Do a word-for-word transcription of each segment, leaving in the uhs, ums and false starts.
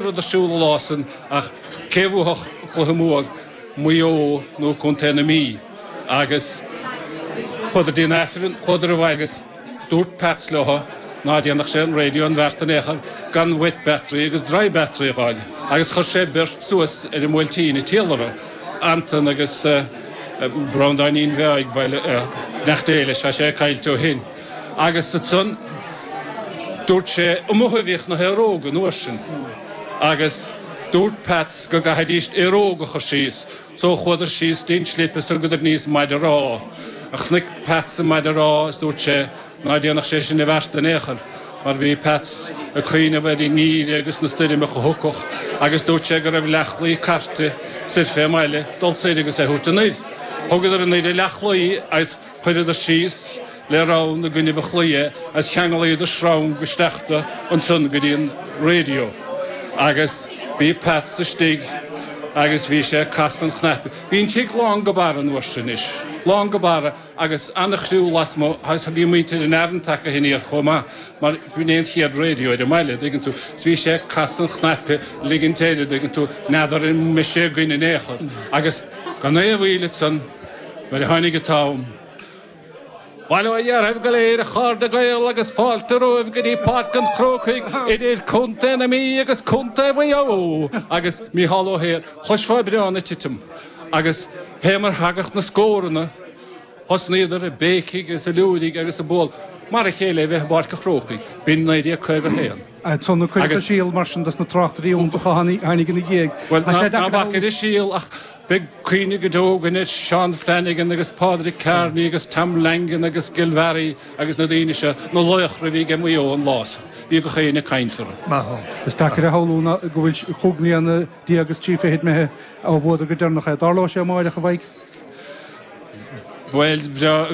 Rud ar siúl an lá san ach cé bhuafadh an cluiche mór, Maigh Eo nó Contae na Mí? Agus chuadar dtí an Aifreann, chuadar abhaile agus dúirt Peats leo ná déanfadh sé an raidió an bheart in aon chor gan wet battery agus dry battery a dh'fháil. Agus chuir sé beirt suas ar an mBuailtín i Tíolra, Anton agus Breandáinín Bheag, beannacht Dé leis, tá sé caillte ó shin. Agus ansan dúirt sé, amuigh a bhíodh na haeróga an uair sin agus dúirt Peats go gcaithfidís aeróg a chur síos so chuadar síos dtí'n slip is thugadar aníos maide rámha. Chonaic Peats an maide rámha is dúirt sé ná déanfadh sé sin i bhfeart in aon chor mar bhí Peats ag cuimhneamh ar an ngeimhreadh agus na stoirmeacha a thiocfadh agus dúirt sé go raibh leathchlaí cairte soir fé mbaile dul soir agus é thabhairt anoir. Thugadar anoir an leathchlaí agus chuireadar síos le rann i gcoinnibh an chlaí é agus cheanglaíodar sreang isteach do ansan go dtí an radio agus bhí Peats istigh agus bhí sé ag casadh an chnaipe. Bhí an tigh lán go barra an uair sin anois, lán go barra agus ana-chriú lasmuigh agus bhí muintir an Arann tagtha aniar chomh maith mar b'in é an chéad radio ar an mbaile, dtuigeann tú. Is bhí sé ag casadh an chnaipe, ligint air, dtuigeann tú, n'fheadar an mbeidh sé againn in aon chor. Agus gan aon mhoill ansan nuair a tháinig an t-am, Bail ó Dhia oraibh go léir, a chairde Gael, agus fáilte romhaibh go dtí Páirc an Chrócaigh idir Contae na Mí agus Contae Mhaigh Eo! Agus Mícheál Ó hEithir, chloisfeá bréan ag titim agus fé mar thagadh na scóranna, thosnaíodar ag béicigh is ag liúirigh agus ag bualadh mar a chéile a bheith i bPáirc an Chrócaigh. B'in naoi déag caoga a haon. Ansan a cuireadh an síol mar sin dos na tráchtairí iontacha a tháinig ina dhiaidh. Bhuel, ná bac ar an síol ach beidh cuimhne go deo againn ar Seán Flanagan agus Pádraig Kearney agus Tom Langan agus Gilvarry agus na daoine seo, na laochra a bhí ag Maigh Eo an lá san. Bhí gach éinne ag caint orthu. Is deacair a shamhlú ná go bhfuil cúig mbliana déag is trí fichid imithe ó bhuadar go deireanach é. Dtarlóidh sé amáireach, a Mhaidhc? Bhuel,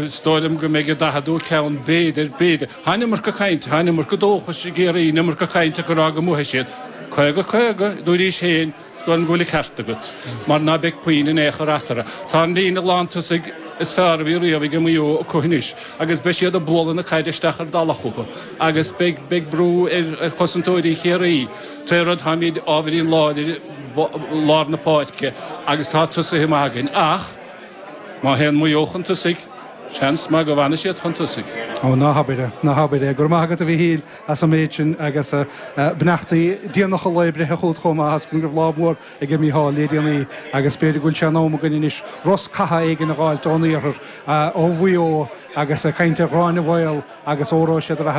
is dóigh liom go mbeidh an daicheadú ceann, b'fhéidir, b'fhéidir. Tá an iomarca cainte, tá an iomarca dóchais i gCiarraí, an iomarca cainte acu ag rá go mbuafaidh siad. Caoga caoga, dúraís féin, is dóigh liom go bhfuil an ceart agat, mar ná beidh puinn in aon chor eatarthu. Tá an líne lántosaigh is fearr a bhí riamh ag Maigh Eo acu anois agus beidh siad ag bualadh na caide isteach ar dalach chucu agus beidh, beidh brú ar, ar chosantóirí Chiarraí. Tré rud, táimid ábhairín láidir i lár na páirce agus tá tosaithe maith againn ach, Má théann Maigh Eo chun tosaigh, seans maith go bhfanfaidh siad chun tosaigh. Ó, ná habair é, ná habair é. Go raibh maith agat, a Mhíchíl, as an méid sin agus beannachtaí déanacha lae breithe chugat chomh maith as go raibh lá mór aige Mícheál le déanaí agus b'fhéidir go bhfuil sé in am againn anois rosc catha éigin a dh'fháilt ón iarthar, ó Mhaigh Eo agus ag caint ar Ghráinne Mhaol agus óró sé do bheatha.